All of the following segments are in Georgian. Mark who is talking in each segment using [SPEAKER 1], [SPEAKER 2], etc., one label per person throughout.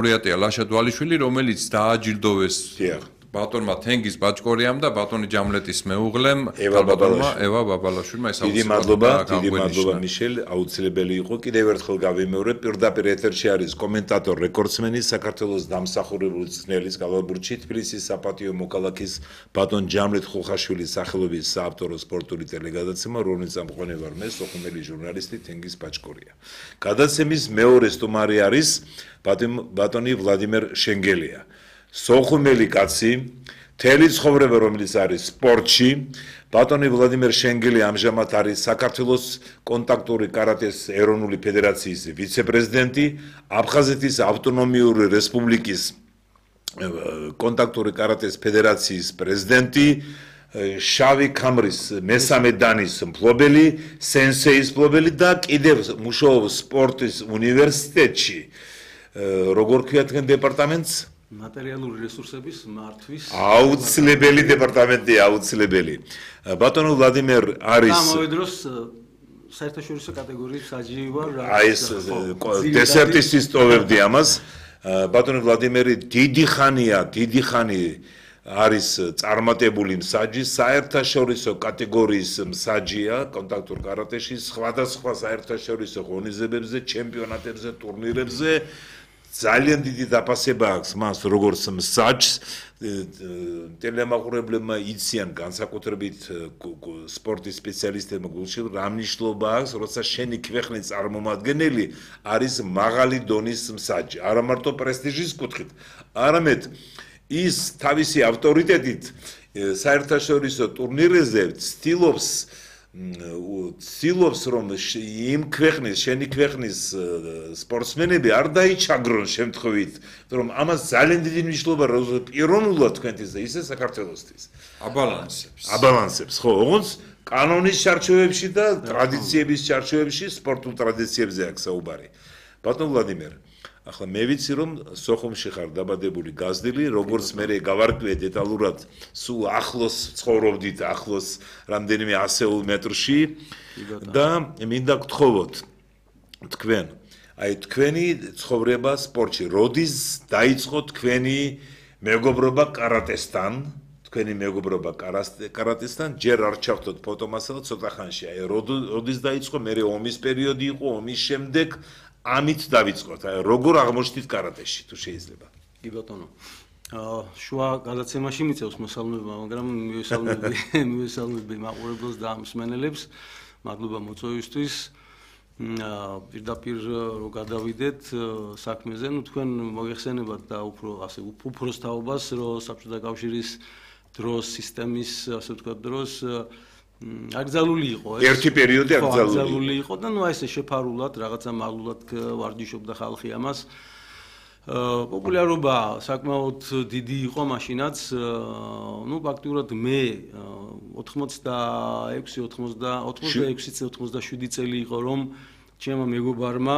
[SPEAKER 1] ლაურეატია ლაშა დვალიშვილი, რომელიც დააჯილდოვეს ბატონმა თენგიზ ბაჭკორიამ და ბატონი ჯამლეტის მეუღლემ
[SPEAKER 2] ევა
[SPEAKER 1] ბაბალაშვილმა
[SPEAKER 2] დიდი მადლობა მიშელ, აუცილებელი იყო. კიდევ ერთხელ გავიმეორებ, პირდაპირ ეთერში არის კომენტატორ რეკორდსმენი საქართველოს დამსახურებული წვრთნელის გალავბურთში თბილისის საპატიო მოქალაქის ბატონ ჯამლეტ ხუხაშვილის სახელობის საავტორო სპორტული ტელეგადაცემა, რომელიც ამყვანი ვარ მე, სოხუმელი ჟურნალისტი თენგიზ ბაჭკორია. გადაცემის მეორე სტუმარი არის ბატონი ვლადიმერ შენგელია. სოხუმელი კაცი, მთელი ცხოვრება რომელიც არის სპორტში, ბატონი ვლადიმერ შენგელი ამჟამად არის საქართველოს კონტაქტური კარატეს ეროვნული ფედერაციის ვიცე-პრეზიდენტი, აფხაზეთის ავტონომიური რესპუბლიკის კონტაქტური კარატეს ფედერაციის პრეზიდენტი, შავი ქამრის მესამე დანის მფლობელი, სენსეის მფლობელი და კიდევ მუშაობს სპორტის უნივერსიტეტში. როგორ ქვია თქვენ დეპარტამენტს?
[SPEAKER 3] Materialuri resursების მართვის
[SPEAKER 2] აუცილებელი დეპარტამენტია, აუცილებელი. ბატონო ვლადიმერ არის
[SPEAKER 3] გამოვიდროს საერთაშორისო კატეგორიის საჯი ვარ.
[SPEAKER 2] აი ეს დესერტისთვის ტოვებდი ამას. ბატონო ვლადიმერი დიდი ხანი არის წარმატებული მსაჯი, საერთაშორისო კატეგორიის მსაჯია კონტაქტურ კარატეში, სხვადასხვა საერთაშორისო ღონისძიებებზე, ჩემპიონატებზე, ტურნირებზე. ძალიან დიდი დაფასება აქვს მას როგორც მსაჯს, ტელემაყურებლებმა იციან განსაკუთრებით სპორტის სპეციალისტებმა გულში რა მნიშვნელობა აქვს, როცა შენი ქვეყნის წარმომადგენელი არის მაღალი დონის მსაჯი, არა მარტო პრესტიჟის კუთხით, არამედ ის თავისი ავტორიტეტით საერთაშორისო ტურნირებზე ცდილობს რომ იმ ქვეყნის, შენი ქვეყნის სპორტსმენები არ დაიჩაგრონ შემთხვევით, რომ ამას ძალიან დიდი მნიშვნელობა პიროვნულად თქვენთვის და ისე საქართველოსთვის აბალანსებს, ხო, ოღონდ კანონის ჩარჩოებში და ტრადიციების ჩარჩოებში, სპორტულ ტრადიციებზე აქვს საუბარი. ბატონ ვლადიმერ, ახლა მე ვიცი რომ სოხუმში ხარ დაბადებული გაზრდილი, როგორც მე გავარკვიე დეტალურად, სულ ახლოს ცხოვრობდით, ახლოს რამდენიმე 100 მეტრში და მინდა გთხოვოთ თქვენ, აი თქვენი ცხოვრება სპორტში, როდის დაიწყო თქვენი მეგობრობა კარატესთან, ჯერ არ ჩავთოთ ფოტომასალა ცოტა ხანში, აი როდის დაიწყო, მე ომის პერიოდი იყო, ომის შემდეგ ამით დავიწყოთ, აი როგორ აღმოჩნდით კარატეში, თუ შეიძლება.
[SPEAKER 3] კი ბატონო. შუა გადაცემაში მიწევს მოსალმება, მაგრამ მივესალმები მაყურებელს და მსმენელებს. მადლობა მოწვევისთვის. პირდაპირ რო გადავიდეთ საქმეზე, ნუ თქვენ მოგეხსენებათ და უფრო ასე უფროს თაობას, რომ საბჭოთა კავშირის დროს, სისტემის, ასე ვთქვათ, დროს აკრძალული იყო ეს.
[SPEAKER 2] ერთი პერიოდი აკრძალული
[SPEAKER 3] იყო და ნუ აი ესე შეფარულად, რაღაცა მაღლულად ვარჯიშობდა ხალხი ამას. პოპულარობა საკმაოდ დიდი იყო მაშინაც. ნუ ფაქტურად მე 86-87 წელი იყო რომ ჩემო მეგობარმა,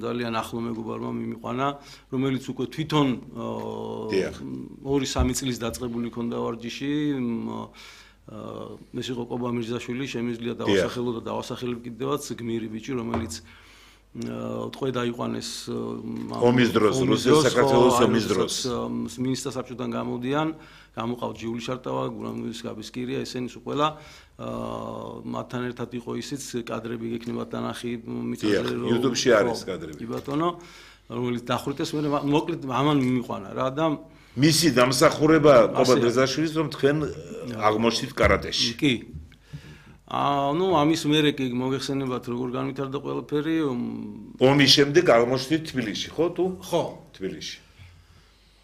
[SPEAKER 3] ძალიან ახლო მეგობარმა მიმიყვანა, რომელიც უკვე თვითონ 2-3 წლის დაწყებული ქონდა ვარჯიში. ეს იყო კობა მირზაშვილი, შემიძლია დავასახელო და დავასახელებ კიდევაც გმირი ბიჭი, რომელიც თქო დაიყვანეს
[SPEAKER 2] ომის დროს, რუსეთის საქართველოს ომის დროს.
[SPEAKER 3] მინისტრთა საბჭოდან გამოდიან, გამოყავთ ჟიული შარტავა, გურამის გაბისკირია, ესენი სულ ყველა მათთან ერთად იყო ისიც კადრები გექნებათ დანახი მიწაზე რომ
[SPEAKER 2] YouTube-ში არის კადრები.
[SPEAKER 3] კი ბატონო, რომელიც დახვრიტეს, მე მოკლედ ამან მიმიყვანა რა და
[SPEAKER 2] მისი დამსახურება კობა მირზაშვილის რომ თქვენ აღმოჩნდით კარატეში.
[SPEAKER 3] კი. ნუ ამის მერე კი მოგეხსენებათ როგორ განვითარდა ყველაფერი.
[SPEAKER 2] ომის შემდეგ აღმოჩნდით თბილისში, ხო თუ?
[SPEAKER 3] ხო,
[SPEAKER 2] თბილისში.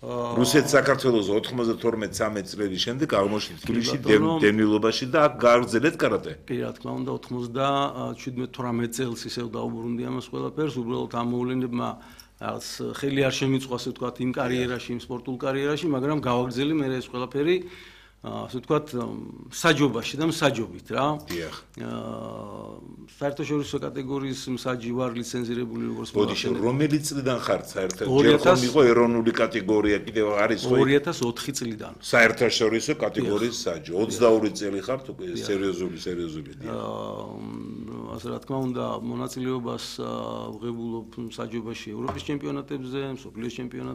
[SPEAKER 2] რუსეთის საქართველოს 92-13 წლების შემდეგ აღმოჩნდით თბილისში დევნილობაში და აქ გააგრძელეთ კარატე.
[SPEAKER 3] კი, რა თქმა უნდა, 97-18 წელს ისევ დაუბრუნდი ამას ყველაფერს, უბრალოდ ამ მოვლენებმა რაღაც ხელი არ შემიწვა, ასე ვთქვათ, იმ კარიერაში, იმ სპორტულ კარიერაში, მაგრამ გავაგრძელი მე ეს ყველაფერი. ასე ვთქვათ, საჯობაში და მსაჯობით რა.
[SPEAKER 2] დიახ.
[SPEAKER 3] საერთაშორისო კატეგორიის მსაჯი ვარ ლიცენზირებული როგორც
[SPEAKER 2] ბოდიში რომელი წლიდან ხართ საერთოდ?
[SPEAKER 3] 2000
[SPEAKER 2] ჯერ ხომ იყო ეროვნული კატეგორია კიდევ არის ხო?
[SPEAKER 3] 2004 წლიდან.
[SPEAKER 2] საერთაშორისო კატეგორიის საჯი. 22 წელი ხართ უკვე სერიოზული დიახ.
[SPEAKER 3] ასე რა თქმა უნდა, მონაწილეობას ვღებულობ მსაჯობაში ევროპის ჩემპიონატებზე, მსოფლიოს ჩემპიონატებზე.